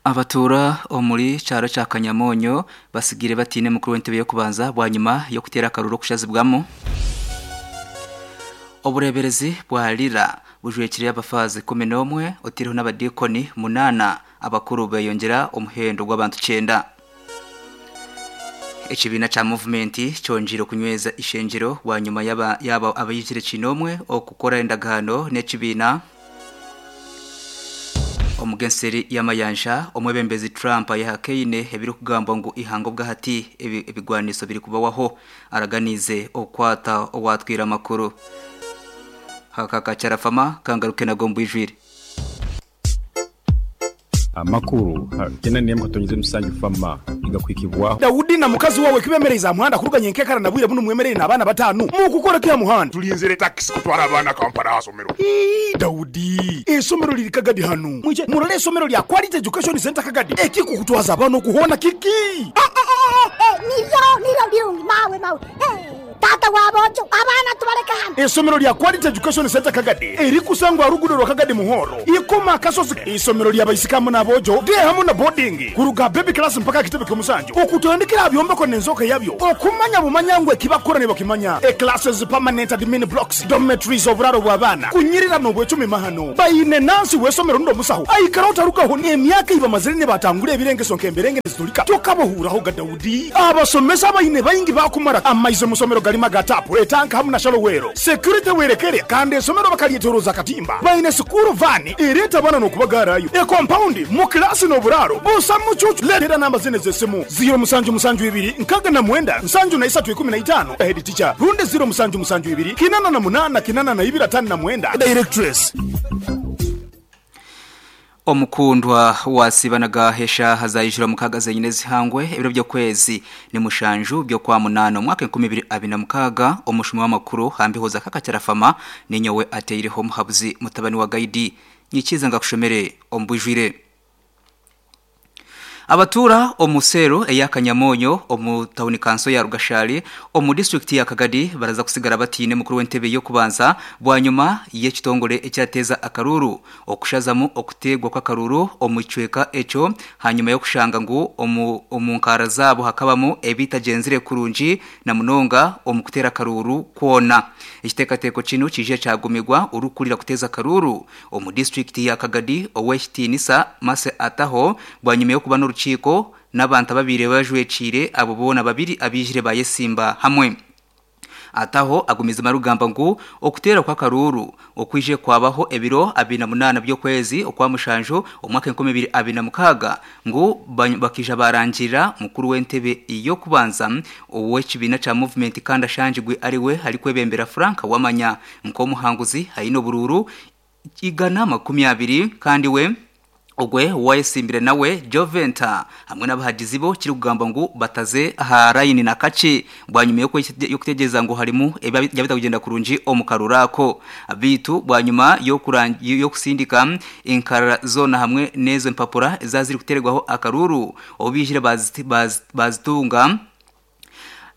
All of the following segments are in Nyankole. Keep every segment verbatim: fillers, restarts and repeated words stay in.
Abatura omuri kyaro kya Kanyamonyo basigire batine mukuru w'entebe yo kubanza bwanyuma yo kutera akaruru kushazibwamo. Obureberezi bwa Lira bujwekire abafazi kumi n'omwe otiriho n'abadikoni munana abakuru beyongera omuhendo gw'abantu cyenda. Ekibiina cha movement cyonjiro kunyweza ishengero bwanyuma yaba yaba abayijire kinomwe okukora endagaano n'ekibiina. Omugenseri y'amayanja omwebembezi Trump yahakeine ebiri kugamba ngu ihango bwahati ebigwaniso biri kubawaho araganize okwata owatwira makuru. Hakaka fama kangaruke na gombo ijwire. Amakuru kena niyemo katonyize musanju fama igakwikibwaho. Daudi na mukazi wawe kibemereza muhanda kuruganye nkekara nabwire buno mwemerere nabana batanu mu kya muhanda tulinzire taxi kutwara abana Kampala asomero. Daudi esomero liri Kagadi hanu mwije murole esomero lya Quality Education Center Kagadi ekikukutwaza abana okuhona kiki. Nivyo nivyo birungi mawe mawe. Tata wabojo abana tubareka hano. Isomero lya Quality Education Center Kagadi eri kusangwa rugudo rwa Kagadi Muhoro ikoma kasozi. Isomero lya bayisikamu nabojo de hamu na boarding kuruga baby class mpaka kitebe kyomusanjo okutandikira byombeko nenzoka yabyo okumanya bumanyangwe kibakora ne bakimanya e classes permanent admin blocks dormitories oburaro bw'abana kunyirira no bwecumi mahano bayine nansi wesomero ndo musaho aikara utarukaho ne emyaka iba mazire batangure ebirengeso nkemberenge zitulika tokabohuraho ga Daudi abasomesa bayine bayingi bakumara amaizo musomero galima gatapu etanka hamuna shalowero security werekere kandi esomero bakalietoroza katimba bayine sukuru vani ireta bana no kubagarayo e compound mu class no buraro busa mucucu letera namba zine zesimu zero musanju musanju ibiri nkaga na mwenda nsanju na isatu ikumi na itano head teacher runde zero musanju musanju ibiri kinana na munana kinana na ibira tano na mwenda directress. Omukundwa wasibanaga hesha hazayijira mukaga zenyine zihangwe ebiro byo kwezi ni mushanju byo kwa munano mwaka nkumi bibiri abiri na mukaga omushumi w'amakuru hambihoza kakacyarafama ninyowe ateireho muhabuzi mutabani wa Gaidi nyikiza ngakushomere ombujwire. Abatura omusero eyakanyamonyo omu town council ya Rugashali omu district ya Kagadi baraza kusigara batine mukuru w'entebe yo kubanza bwanyuma y'ekitongole ekyateza akaruru okushazamu okutegwa kwa karuru omucweka eco hanyuma yo kushanga ngu omu omunkara zabo hakabamo ebitagenzire kurungi na munonga omukutera karuru kwona. Ekitekateko kino kije cyagumirwa urukurira kuteza karuru omu district ya Kagadi oweshtinisa mase ataho bwanyuma yo kuba n'urukiko n'abantu babiri bajwecire abo bona babiri abijire bayesimba hamwe. Ataho agumiza marugamba ngu okutera kwa karuru okwije kwabaho ebiro abiri na munana byo kwezi okwa mushanjo omwaka enkumi bibiri abiri na mukaga ngu bakija barangira mukuru w'entebe iyo kubanza owekibina cha movement kandi ashanjigwe ariwe ari kwebembera Frank wamanya nko muhanguzi hayino bururu igana makumi abiri kandi we ogwe wayesimbire nawe Joventa hamwe n'abahagizi bo kiri kugamba ngo bataze aha line na kace bwanyuma yo kutegeza ngo harimu yabita kugenda kurungi omukarurako bitu bwanyuma yo kurangi yo kusindika inkara zona hamwe nezo mpapura ezaziri kuteregwaho akaruru obijire bazitunga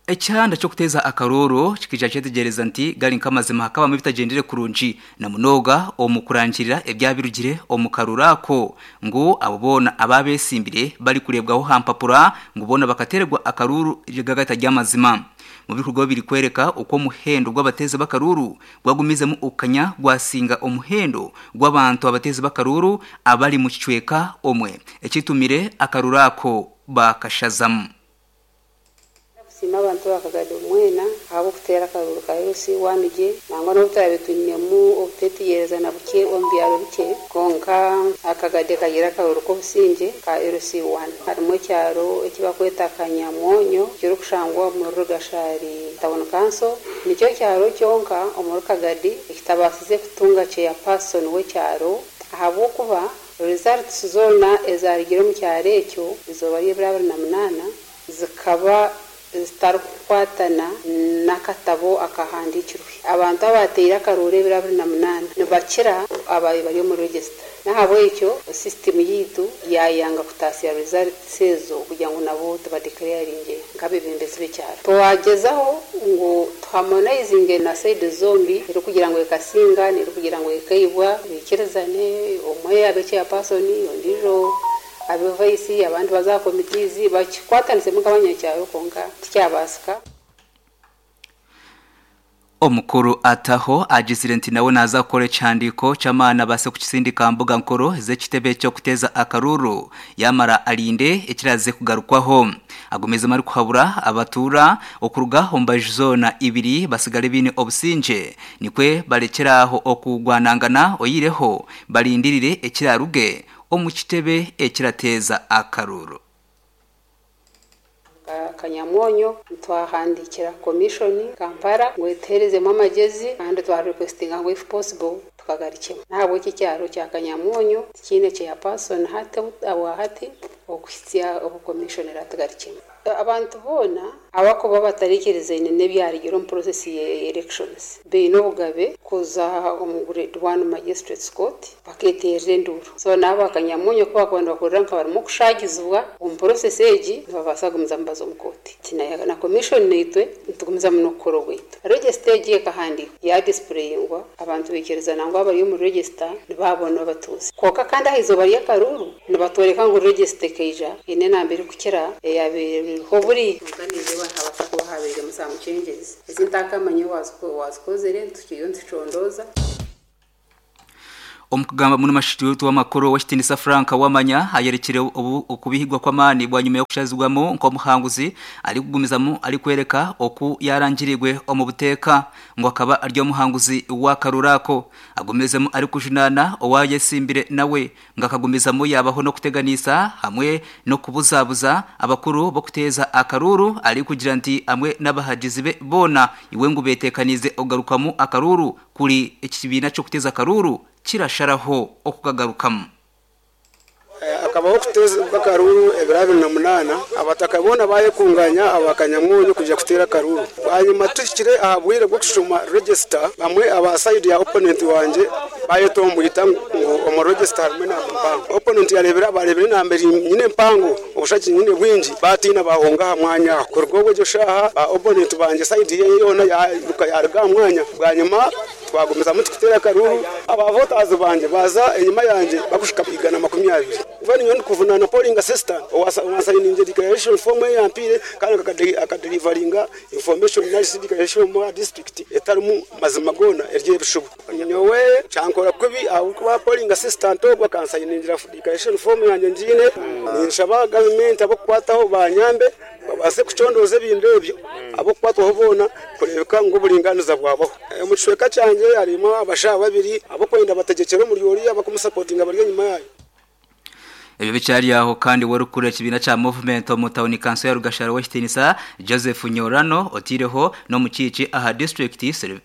Echanda cyo kuteza akaroro kikija cyetegereza nti gali nkamazima hakaba mubitagendere kurungi na munoga omukurangirira ebyabirugire omukarurako ngo abo bona ababesimbire bari kurebwaho hampapura ngo bona bakatererwa akaruru gagata ry'amazima. Mu bikorwa biri kwereka uko muhendo gw'abateze bakaruru gwagumizemo ukanya gwasinga omuhendo gw'abantu abateze bakaruru abari mu kicweka omwe ekitumire akarurako bakashazamu. Sima abantu bakagadi omwena abo kutera akaruru ka L C one G nangwa n'obutarabe twinemu obutetiyereza na buke omu byaro bike konka akagadi kagira akaruru k'obusinge ka L C one harimu ekyaro ekibakweta Kanyamwonyo kirikushangwa omu Rugashari town council nikyo kyaro kyonka omu Kagadi ekitabasize kutunga chairperson w'ekyaro ahabw'okuba results zona ezarigire omu kyaro ekyo izooba ry'ebiro abiri na munaana zikaba zitarukukwatana n'akatabo akahandikirwe. Abantu abateire akaruru ebiro abiri na munaana nibakira abayi bari omu register nahabwekyo system yitu yayanga kutasya results ezo kugira ngu nabo tubadeclaringe nk'abebembezi b'ekyaro. Twagezaho ngu tuharmonizinge na side zombi eri kugira ngu ekasinga neri kugira ngu ekaibwa bikirizane omwe abe chairperson ondijo abe vice abandi baza committees bakikwatanise mukabanyakyaro konka tikyabasika. Omukuru ataho agizire nti nawe naza gukora ekihandiiko ky'amaani base kukisindika mbuga nkuru z'ekitebe ky'okuteza akaruru yamara alinde ekiraze kugarukwaho. Agumizemu ari kuhabura abatuura okuruga omu mbaju zoona ibiri basigale biine obusinge nikwe barekyeraho okugwanangana oyireho barindirire ekiraruge omu kitebe ekirateza akaruru. Kanyamonyo twahandikira commission Kampala ngo eterezemo amagezi kandi twa requestinga ngo if possible tukagarikemo ntabwo iki cyaro cya Kanyamonyo kine cya person hate awahati okuhitsya obu commission ratugarikemo abantu bona abakuba batarikirize nebyarigiro mu process ye elections beino bugabe kuza omu grade one magistrates court baketerera enduru so nabo Kanyamonyo kuba kwenda bakorera nka barimo kushagizwa omu process egi nibabasa gumiza mbazo mu court tina na commission neitwe ntugumiza muno kukora bwitu register egi ekahandikwa ya displayingwa abantu bekereza nangwa abari mu register nibabona batuzi koka kandi ahizo bari akaruru nibatoreka ngo register keija ine nambere kukira eyabere hoburi nganize bantabasa kuba habere musamu changes ezintakamanye wazikozere tukiyo nticondoza. Omukugamba muno mashitu w'amakuru wa Shitinisa Frank wamanya ayerekire obu okubihigwa kw'amani bwa nyuma yo kushazibwamo nko muhanguzi ari kugumizamu ari kwereka oku yarangirirwe omu buteeka ngo akaba aryo muhanguzi wa Karurako. Agumizemu ari kujunana owayesimbire nawe ngo akagumizamo yabaho no kuteganisa hamwe no kubuzabuza abakuru bo kuteza akaruru ari kugira nti amwe n'abahagizi be bona iwe ngo betekanize ogarukamu akaruru kuri ekibina cyo kuteza akaruru kirasharaho okukagarukamu. Akabaho kuteza akaruru ebiro abiri na munaana abataka boona bayekunganya abakanyamunyu kuja kutera akaruru. Hanyuma tuhikire aha bwire bwo kushuma register bamwe aba side ya opponent wanje bayetombwita ngo omu register harimwe namba mpango. Opponent yarebera barebera namba nyine mpango obushaki nyine bwingi batina bahonga aha mwanya aho. Kuruga obwo shaha ba opponent banje side ye yona yaruka yaruga aha mwanya bwanyuma twagumizamu tukutera akaruru aba voters banje baza enyuma yanje bakushika igana makumi abiri. Kuva niyo ndikuvunana polling assistant owasayininze declaration form eyampire kandi akadelivaringa information analysis declaration mu district etarimu mazima gona ery'ebishubu. Nyowe kyankora kubi ahabwokuba polling assistant ogwo akansayiningira declaration form yanje ngiine ninshaba government abokukwataho banyambe babase kucondoza ebintu ebyo abokukwatwaho boona kurebeka ngu oburinganiza bwabaho. Omu kicweka kyangye harimu abashaho babiri abokwenda bategekere omuri oriya bakumusapotinga bari enyuma yayo. Ebyo bicyari aho kandi warukura kibina cha movement mu town council ya Rugashara Westinisa Joseph Nyorano otireho no mucici aha district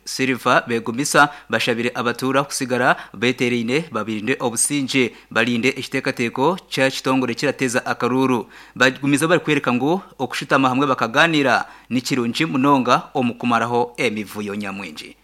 Silver begumisa bashabire abatura kusigara beterine babirinde obusinje balinde ekitekateko cha kitongore kirateza akaruru bagumiza bari kwereka ngo okushitama hamwe bakaganira nikirungi munonga omukumaraho emivuyo nyamwinji.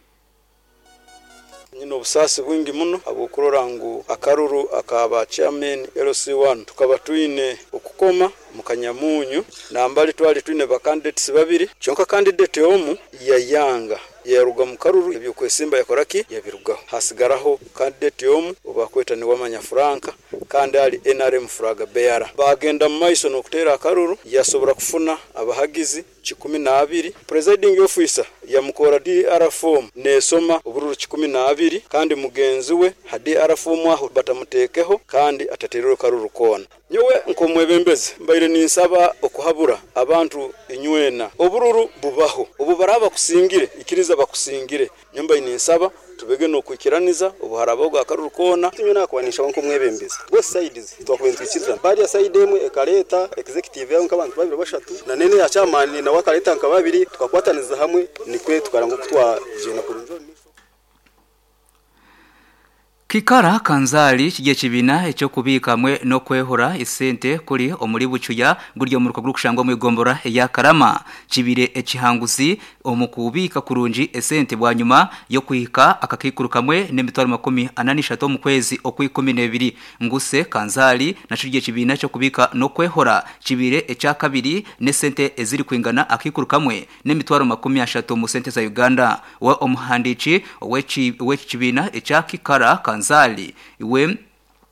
Nyine obusasi bwingi muno abukurora ngu akaruru akaba chairman L C one tukaba twine okukoma mu Kanyamunyu nambali twali twine ba candidates babiri kyonka candidate omu yayanga yaruga mu karuru ebyo kwesimba yakoraki yabirugaho hasigaraho candidate omu obakweta ni wamanya Franka kandi ali N R M flag bearer bagenda mu maiso nokutera akaruru yasobora kufuna abahagizi kikumi na abiri presiding officer yamukora D R form nesoma obururu kikumi na abiri kandi mugenzi we ha D R form aho batamutekeho kandi ataterero karuru kona. Nyowe nkomwebembeze mbaire ninsaba okuhabura abantu inywena obururu bubaho obu baraba kusingire ikiriza bakusingire nyumba ininsaba tubege no kwikiraniza obuharabo bwa karuru kona. Tinyo nakwanisha nko mwebembeze both sides twakwentwikiriza bari ya side emwe ekareta executive yaho nkabantu babiri bashatu na nene ya chairman na wakareta nka babiri tukakwataniza hamwe nikwe tukaranga kutwajena kurunjo. Kikara kanzali kigiye kibina ecyo kubika hamwe no kwehora isente kuri omuri bucuya guryo mu ruko kushangwa mu igombora ya Karama kibire ekihanguzi omukubika kurungi esente bwanyuma yo kuhika akakikuru kamwe n'emitwaro makumi anani shato mu kwezi okwikumi nebiri nguse kanzali naco kigiye kibina cyo kubika no kwehora kibire eca kabiri n'esente eziri kwingana akikuru kamwe n'emitwaro makumi ashatu mu sente za Uganda wa omuhandici wechi wechi kibina eca Kikara Kanzali iwe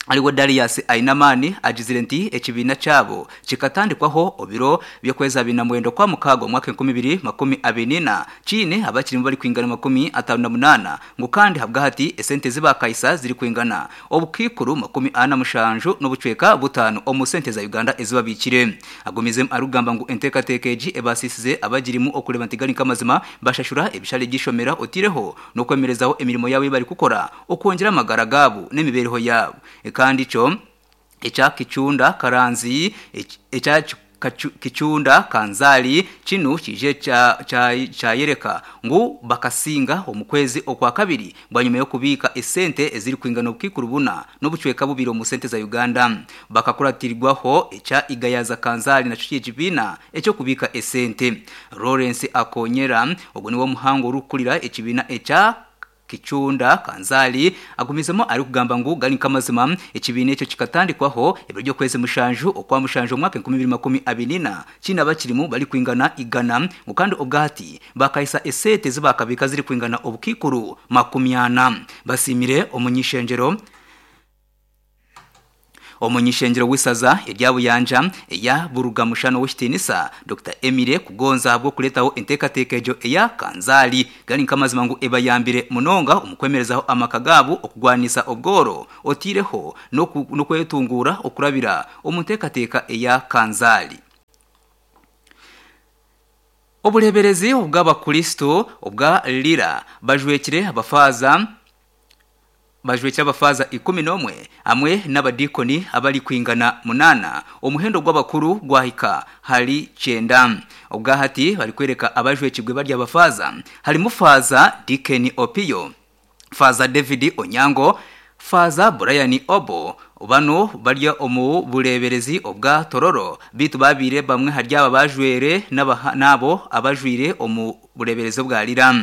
Aliwe Darius Ainamani agizire nti ekibiina kyabo kikatandikwaho obiro byokweza bina mwendo kwa mukago mwaka enkumi ibiri makumi abiri na chine abakiri bari kwingana makumi atanu na munana ngo kandi habwa hati esente zibakaisa ziri kwingana obukikuru makumi ana mushanju n'obucweka butano omu sente za Uganda ezibabikire. Agumizem arugamba ngu enteekateeka ebasisize abagirimu okuleba nti gari kamazima bashashura ebishale gishomera otireho no kwemerezaho emirimo yawe bari kukora okwongera amagara gabo n'emibereho yabo. Kandi cyo echa Kichunda Karanzi echa Kichunda Kanzali kinu kije cha cha yereka ngu bakasinga omukwezi okwa kabiri bwanyuma yo kubika esente eziri kwingana obukikurubuna n'obucweka bubiri mu sente za Uganda. Bakakuratirwaho echa Igayaza Kanzali na cyo kibina echo kubika esente. Lawrence Akonyera ogwo niwo muhango rukurira ekibina echa Kichunda Kanzali agumizemo ari kugamba ngu gari kamazima ekibine ekyo kikatandikwaho ebiryo kwezi mushanju okwa mushanju mwaka enkumi ibiri makumi abiri na kina bakirimu bari kwingana igana kandi obwati bakayisa esete zibakabika ziri kwingana obukikuru makumi ana. Basimire omunyishenjero omunyishenjero w'isaza eryabuyanja eya Burugamushano w'Ikitinisa Doctor Emire Kugonza bwo kuletaho enteekateeka eya Kanzali gari nkamazima ngu ebayambire munonga omukwemerezaho amakagabu okugwanisa obworo otireho no kwetungura okurabira omunteekateeka eya Kanzali. Obuleberezi obw'abakristo obwa Lira bajwekire abafaza bajwekira abafaza ikumi n'omwe amwe n'abadikoni abali kwingana munana omuhendo gw'abakuru gwahika hali cyenda. Obwahati bari kwereka abajwekibwe bari abafaza hari mufaza Dikeni Opio, Faza David Onyango, Faza Brian Obo. Bano barya omu bureberezi obwa Tororo bitu babire bamwe harya abajwere nabo abajwire omu bureberezi bwa Lira.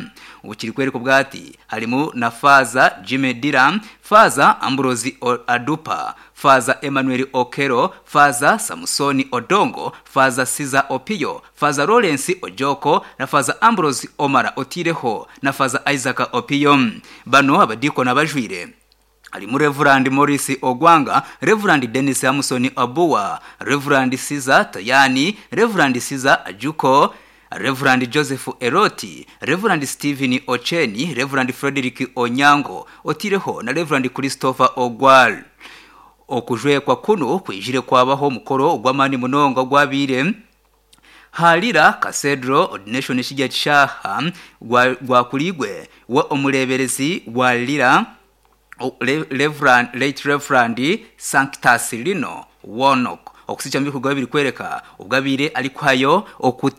Ubukiri kwereka bwati harimu na Faza Jimmy Dira, Faza Ambrosi Adupa, Faza Emmanuel Okero, Faza Samsoni Odongo, Faza Siza Opio, Faza Lawrence Ojoko na Faza Ambrosi Omara Otireho na Faza Isaac Opio. Bano abadiko nabajwire alimu Reverend Morris Ogwanga, Reverend Dennis Hamson Abua, Reverend Siza Tayani, Reverend Siza Ajuko, Reverend Joseph Eroti, Reverend Stephen Ocheni, Reverend Frederick Onyango, Otireho na Reverend Christopher Ogwal. Okujwekwa kuno kwijire kwabaho mukoro ogwamani munonga gwabire Halira Cathedral Ordination shijja kishaha gwa kuligwe wa omuleberezi wa Lira Reverend late Reverend Sanctus Lino Wonok. Okusicha mbi kugabiri kwereka ubwabire alikwayo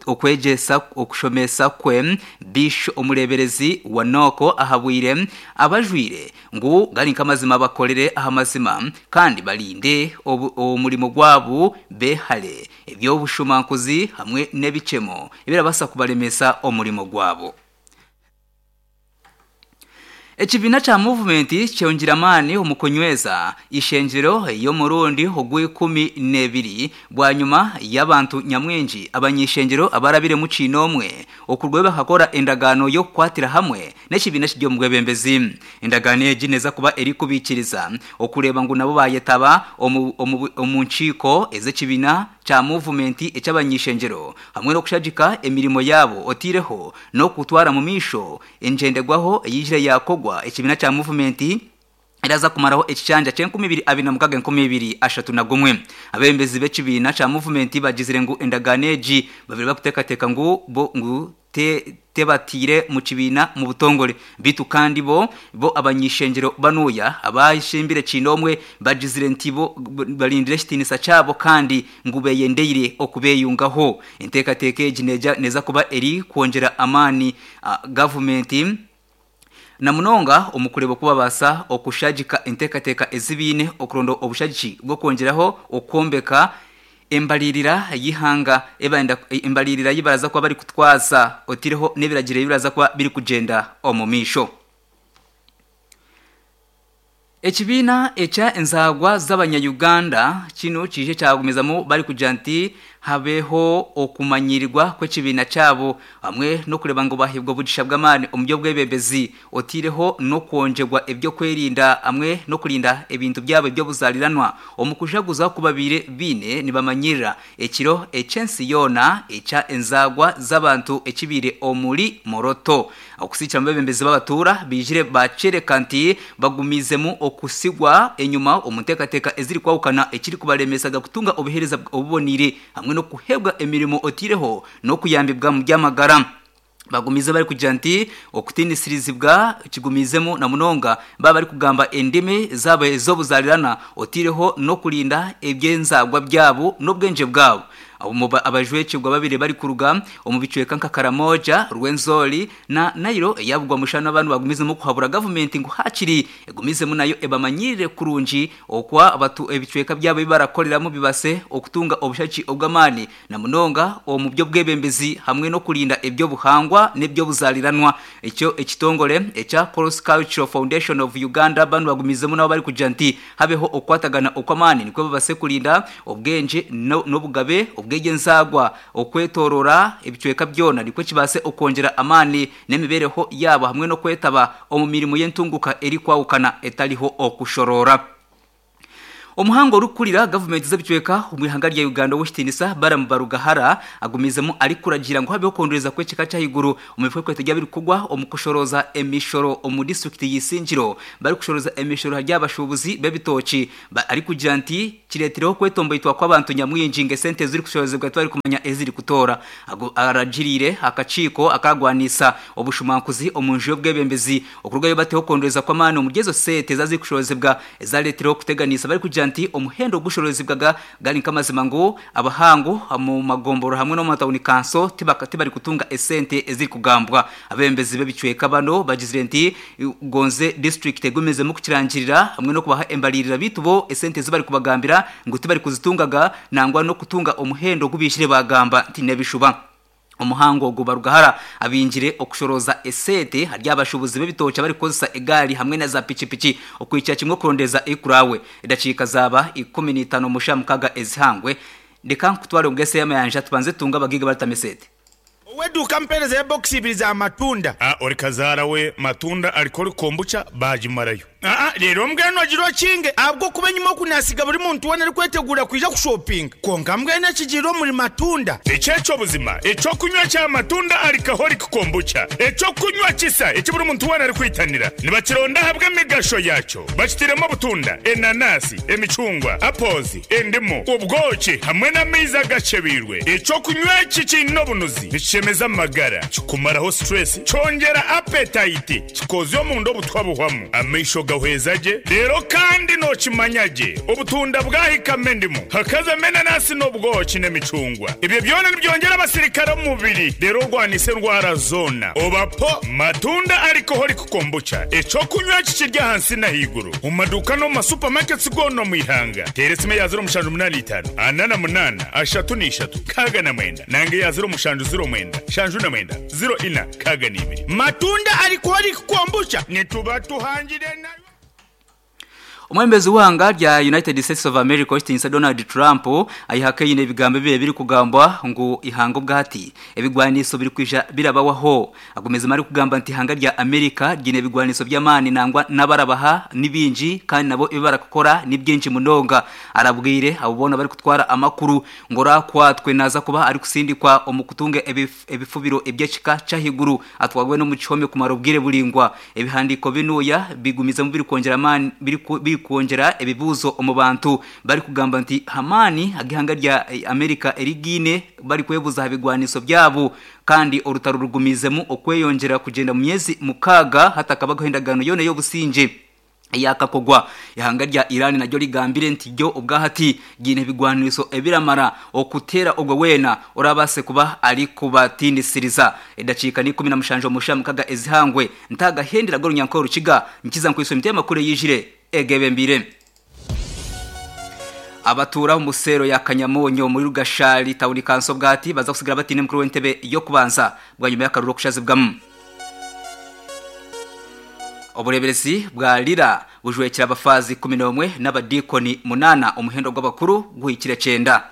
okwejesa okushomesa kwe Bishop omuleberezi wa Noko ahabwire abajwire ngu gari nkamazima bakolere ahamazima kandi balinde omulimo gwabu behale ebyo bushumankuzi hamwe nebichemo ebirabasa kubalemesa omulimo gwabo. Ekibina cha movement kyongiramani omukonyweza ishenjero yo murundi ogwe kumi n'ebiri bwanyuma y'abantu nyamwingi abanyishenjero abarabire mu kinomwe okurweba hakora endagano yo kwatira hamwe n'ekibina kijyo mugwebembezi. Endagano egineza kuba eri kubikiriza okureba ngu nabo bayetaba omu nchiko ez'ekibina cha movement ekyabanyishenjero hamwe no kushagika emirimo yabo otireho no kutwara mu misho enjendegwaho eyijire yakogwa ekibina cha movement iraza kumaraho ekichanja cyenkumi ibiri abiri na mukaga enkumi ibiri ashatu na gumwe. Abembezi b'ekibina cha movement bagizire ngu endaganeji babiri bakutekateka ngu bo ngu te tebatire mu kibina mu butongole bitu kandi bo bo abanyishenjero banuya abayishimbire kinomwe bagizire ntibo balindire shitinisa cyabo kandi ngubeyendeyire okubeyungaho. Enteekateeka egineja neza kuba eri kwongera amani uh, government na munonga omukurebo kubabasa okushagika enteekateeka ezibine okurondo obushagiki bwo kwongeraho okwombeka embalirira yihanga ebanda embalirira yibaraza kuba bari kutwaza otireho nebiragire bibaraza kuba biri kugenda omumisho. Ekibina echa enzagwa z'abanya Uganda kino kije cyagumizamo bari kuja nti habeho okumanyirirwa kw'ekibiina kyabo hamwe n'okureba ngo bahibwa obugisha bw'amaani omu by'obwebembezi otiireho n'okwongyerwa ebyokwerinda hamwe n'okurinda ebintu byabo eby'obuzariranwa omu kujaguza kubabiire biine nibamanyirira ekiro eky'ensi yoona ekya enzagwa z'abantu ekibiire omuri Moroto. Okusikira mu bebembezi b'abatuura bijire bakyereka nti bagumizemu okusigwa enyuma omu nteekateeka eziri kwahukana ekiri kubaremesaga kutunga obuheereza obubonire hamwe n'okuheebwa emirimo otiireho n'okuyambibwa mu by'amagara. Bagumize bari kugira nti okutinisirizibwa kigumizemu na munonga baba bari kugamba endimi zabo ez'obuzarirana otiireho n'okurinda ebyenzagwa byabo n'obwengye bwabo. Abajwekibwa babiri bari kuruga omu bicweka nka Karamoja, Rwenzori na Nairo eyabugwa mushana abantu bagumizemu kuhabura gavumenti ngu hakiri egumizemu nayo ebamanyirire kurungi okwa abatu ebicweka byabo bibarakoreramu bibase okutunga obushaki obw'amaani na munonga omu by'obwebembezi hamwe n'okurinda ebyobuhangwa n'ebyobuzariranwa. Ekyo ekitongore ekya Cross Cultural Foundation of Uganda banu bagumizemu nabo bari kugira nti habeho okwatagana okw'amaani nikwo babase kurinda obwengye n'obugabe obw'egyenzagwa okwetorora ebicweka byona nikwo kibase okwongera amaani n'emibereho yabo hamwe n'okwetaba omu mirimo y'entunguka eri kwawukana etariho okushorora. Omuhango orukurira gavumenti z'ebicweka omu ihanga rya Uganda w'ekitinisa Balaam Barugahara agumizemu ari kuragira ngu habeho okondoreza kw'ekika ky'ahaiguru omu bikwekweto by'abirikugwa omu kushoroza emishoro omu disitulikiti y'Isingiro. Bari kushoroza emishoro hari abashuubuzi b'ebitooki ari kugira nti kireetireho okwetomboitwa kw'abantu nyamwingi ng'esente eziri kushorozebwa tibari kumanya eziri kutoora. Aragiriire akakiiko akagwanisa obushumankuzi omu nju y'obwebembezi okurugayo bateho okondoreza kw'amaani omuri ezo sente ezaziri kushorozebwa ezareetireho okuteganisa bari kugira nti omuhendo gushorozebwaga gari nk'amazima ngu abahangu mu magomboro hamwe no mu matawuni kanso tibari kutunga esente eziri kugambwa. Abembezi b'ebicweka bano bagizire nti gonze district egumizemu kukirangirira hamwe no kubaha embalirira bitu bo esente zibari kubagambira ngu tibari kuzitungaga nangwa no kutunga omuhendo gubishire bagamba nti nebishuba. Omuhango ogwo Barugahara abingire okushoroza esente hari abashubuzi b'ebitoki bari kukozesa egali hamwe na za pichipichi okwica kimwe kurondeza ekurawe. Edakiika zaba ikumi n'itaano musha mukaga ezihangwe. Ndeka nkutware omugese y'amayanja tubanze tunga abagiga baritamesete. Weduka mpereza ya box ibiri za matunda. Ah, ori kazara we matunda alikori kombucha bajimarayo. Ah, rero mbweno agiro kinge abwo kuba nyuma okunasiga buri muntu wena ari kwetegura kuja kushopping. Konka mbweno kijiro muri matunda. Echecho buzima, echo kunywa cha matunda alikahori kombucha. Echo kunywa kisa eki buri muntu wena ari kwitanira. Nibakironda habwe emigasho yacho. Bakitiremo butunda, enanasi, emicungwa, apozi, endimu, ubwoki hamwe n'amaizi agacebirwe. Echo kunywa eki kiine obunuzi. Nikishemeza amagara, kikumaraho stress, cyongera appetite, kikoza omundu obutwa buhwamu. Amaisho gahwezaje, rero kandi nokimanyage. Obutunda bwahikame endimu, hakazamo enanasi n'obwoki n'emicungwa. Ibyo byona nibyongera abasirikare mu mubiri, rero urwanise indwara zona. Obapo matunda alcoholic kombucha. Echo kunywa kikirya hansi na higuru. Mu maduka no mu masupermarkets gono mu ihanga. Teresime ya zero mushanju munani itanu, anana munana, ashatu n'ishatu, kaga na mwenda. Nange ya zero mushanju zero mwenda, shanju na mwenda, zero ina, kaga n'ibiri. Matunda alcoholic kombucha nituba tuhangire nayo. Omwembezi w'ihanga rya United States of America Austin Donald Trump ayihakaine ebigambo bibiri biri kugambwa ngu ihanga obwati ebigwaniso biri kwija birabawaho. Agumeza mari kugamba nti ihanga rya America ryine ebigwaniso by'amaani nangwa n'abarabaha nibingi kandi nabo ibarakukora nibyinshi munonga. Arabwire abo bona bari kutwara amakuru ngo rakwatwe naza kuba ari kusindikwa omukutunga ebifubiro eby'ekika cyahiguru atwagwe no mu gihome kumara ubwire bulingwa. Ebihandiko binuya bigumiza mu biri kongera amani biri kongera ebibuzo omu bantu bari kugamba nti hamani agihanga rya Amerika erigine bari kwebuza habigwaniso byabo kandi orutaro rugumizemu okweyongera kugenda mu myezi mukaga hatakabagaho indagano yone y'obusinge yakakogwa. Ihanga rya Iran naryo rigambire nti ryo ubwahati gine bigwaniso ebiramara okutera ogwe wena orabase kuba ari kubatindisiriza. Edacika ni kumi na mushanjo musha mukaga ezihangwe ntagahendera goro nyankoro rukiga nkiza nkwiso mitema kure yijire egebembire. Abatura mu sero ya Kanyamonyo muri Rugashari tawuni kanso bwati baza kusigara batine mukuru w'entebe yo kubanza bwa nyuma y'akaruro kushazibwamu. Obureberezi bwa Lira bujwekera abafazi kumi n'umwe n'abadikoni munana umuhendo gw'abakuru guhikira cenda.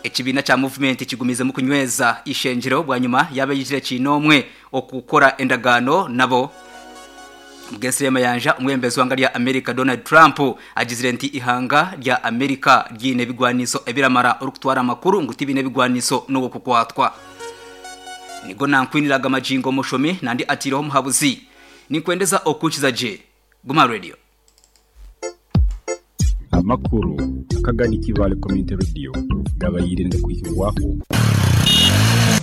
Ekibiina kya movement kigumize mu kunyweza ishengero bwanyuma yabayijire kinomwe okukora endagaano nabo. Mugensire mayanja umwembezi wanga lya America Donald Trump agizire nti ihanga lya America ryine bigwaniso ebiramara orukutwara amakuru nguti bine bigwaniso no kukwatwa. Nigo nankwiniraga majingo mushomi nandi atiriho muhabuzi nikwendeza okukiza je Guma Radio. Amakuru akagani Kivale Community Radio gabayirinde kuhirwaho.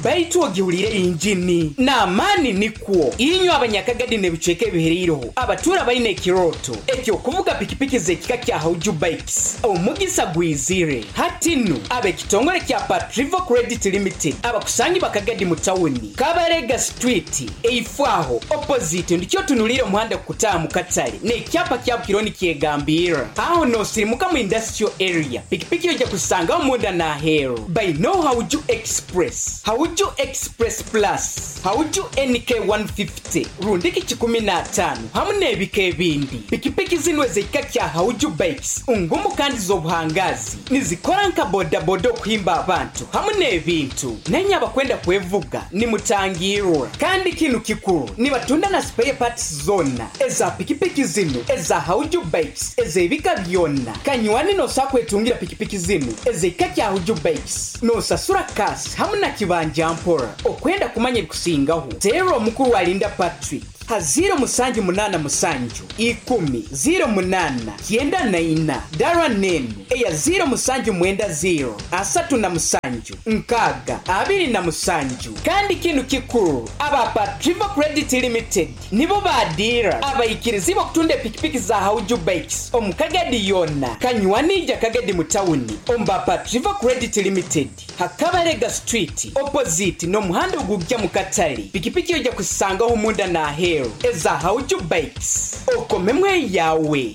Baitu ogiwulire injini n'amaani nikwo inywe abanyakagadi n'ebicweka ebihereireho abatura balina ekiroto ekyokuvuga pikipiki z'ekika kya Hauju Bikes omugisa gwizire hatinu ab'ekitongole kya Patrivo Credit Limited abakusangi bakagadi mu tawuni Kabarega Street eifwaho opposite ndikyo tunulire omuhanda kukutaaha mu katale n'ekyapa kya Bukironi kyegambira aho nosirimuka mu industrial area pikipiki ojja kusangaho munda n'aheeru by no Hauju Express, Hauju Express Plus, Hauju N K one fifty, rundiki kikumi na ataano hamu n'ebika ebindi. Pikipiki zino ez'ekika kya Hauju Bikes ngumu kandi z'obuhangazi nizikora nka bodaboda okuhimba abantu hamu n'ebintu nenye abakwenda kwevuga nimutangirwa. Kandi kinu kikuru nibatunda na spare parts zonna eza pikipiki zino eza Hauju Bikes ez'ebika byonna. Kanywani nosa kwetungira pikipiki zino ez'ekika kya Hauju Bikes nosasura kasi hamu na kibanja mpora. Okwenda kumanya ebikusingaho zero omukuru alinda Patrick ha zero musanju munana musanju ikumi zero munana kyenda na ina dara nenu eya zero musanju mwenda zero asatu na musanju nkaga abiri na musanju. Kandi kinu kikuru aba Patrivo Credit Limited nibo badira abayikirizi bakutunda pikipiki za Hauju Bikes omukagadi yonna kanywanija kagadi mu tawuni omba Patrivo Credit Limited Hakabarega Street opposite n'omuhanda ogujja mu katale pikipiki ojja kusangaho munda n'aheeru eza Hauju Bikes okomemwe yawe.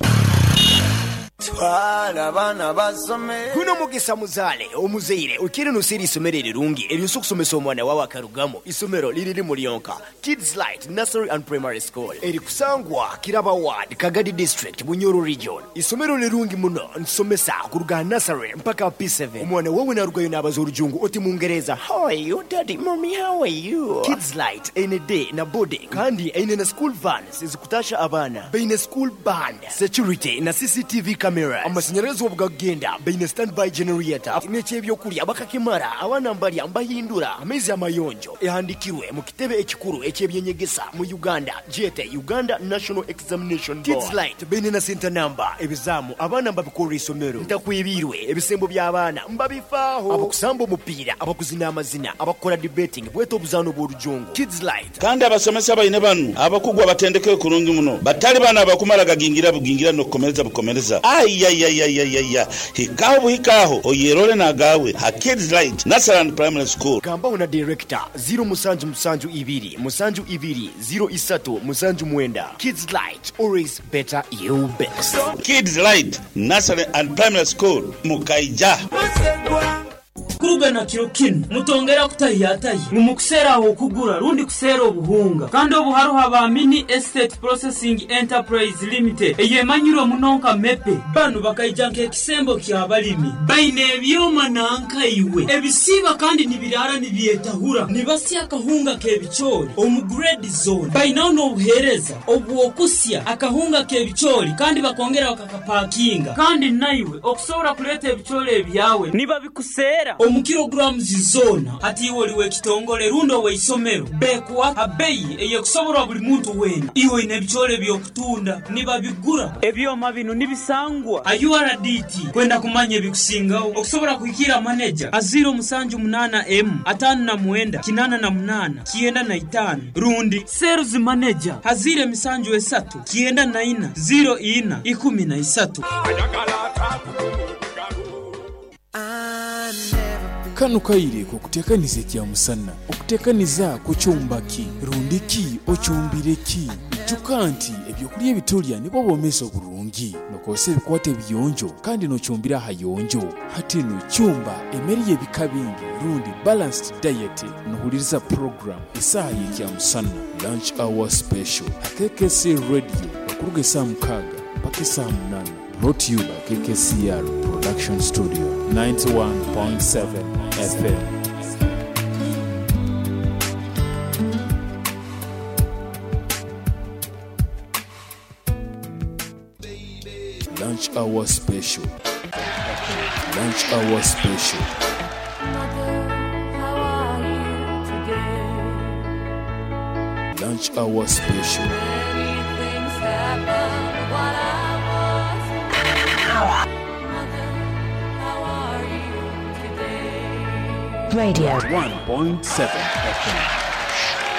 Twala abaana basome. Guno mugisa muzaale omuzeire okiri nusiri isomero erirungi eryosa okusomesa omwana wawe akarugamo. Isomero liriri Mulionka Kids Light Nursery and Primary School erikusangwa Kiraba Ward, Kagadi District, Bunyoro Region. Isomero lirungi muno nsomesa kuruga nursery mpaka P seven. Omwana wawe narugayo n'abaza orujungu oti Mungereza, how are you daddy, mommy, how are you? Kids Light ene day na boarding kandi ene na school vans ezikutasha abaana beine school band, security na C C T V cameras, amashanyarazi obugagenda beine standby generator n'ekyebyokulya bakakimara abaana mbalya mbahindura amaizi amayonjo ehandikirwe mu kitebe ekikuru ekyebyenyegesa mu Uganda jete Uganda National Examination Board. Kids Light beine na center number ebizamu abaana mbabikora isomero ntakwibirwe ebisembo by'abaana mbabifaaho abakusamba omupiira abakuzina amazina abakora debating bweta obuzaano bw'orujungu. Kids Light kandi abasomesa baine banu abakugwa batendeke kurungi muno batali bana abakumara gagingira bugingira n'okukomereza bukomereza ayayayayaya hikaho buhikaho oyerole nagawe ha Kids Light Nursery and Primary School. Gambaho na director zero musanju musanju ibiri musanju ibiri zero isatu musanju mwenda. Kids Light, always better you best. Kids Light Nursery and Primary School Mukaija. Kurugana kiro kinu mutongera kutayatayi mumukusera okugura rundi kusera obuhunga kandi obuharuha ba Mini Estate Processing Enterprise Limited eyemanyiro munonka mepe banu bakaija nk'ekisembo kya balimi baine ebyoma nanka iwe ebisiba kandi nibirara nibyetahura nibasya akahunga k'ebichori omu grade zone bainaho n'obuhereza obwokusya akahunga k'ebichori kandi bakongera bakakapakinga kandi naiwe okusobora kuleta ebichori ebyawe nibabikusera omu kilograms zona hati iwe oliwe kitongole rundo weisomero bekwa abeyi eyekusoborwa buli muntu wena iwe ine ebichore byokutunda nibabigura ebyoma bino nibisangwa a U R D T kwenda kumanya ebikusingaho okusobora kuhikira manager aziro musanju munana m atano na mwenda kinana na munana kienda na itano rundi sales manager hazire misanju esatu kienda na ina zero ina ikumi na isatu. Kano kaire kukutekaniza kya musana okutekaniza kucyumbaki rundiki ocyumbireki ijuka nti ebyokulya ebitulya nibo bomesa oburungi nokose ebikwate biyonjo kandi nocyumbira hayonjo hatino cyumba emeri y'ebika bingi rundi balanced diet nohuliriza program isaha y'ekya musana lunch hour special K K C radio okuruga esaa mukaaga paka esaa munana. Brought to you by K K C R Production Studio, ninety-one point seven F M. Lunch Hour Special. Lunch Hour Special. Mother, how are you today? Lunch Hour Special. Many things happened while I was away. Mother, how are you today? Radio one point seven F M.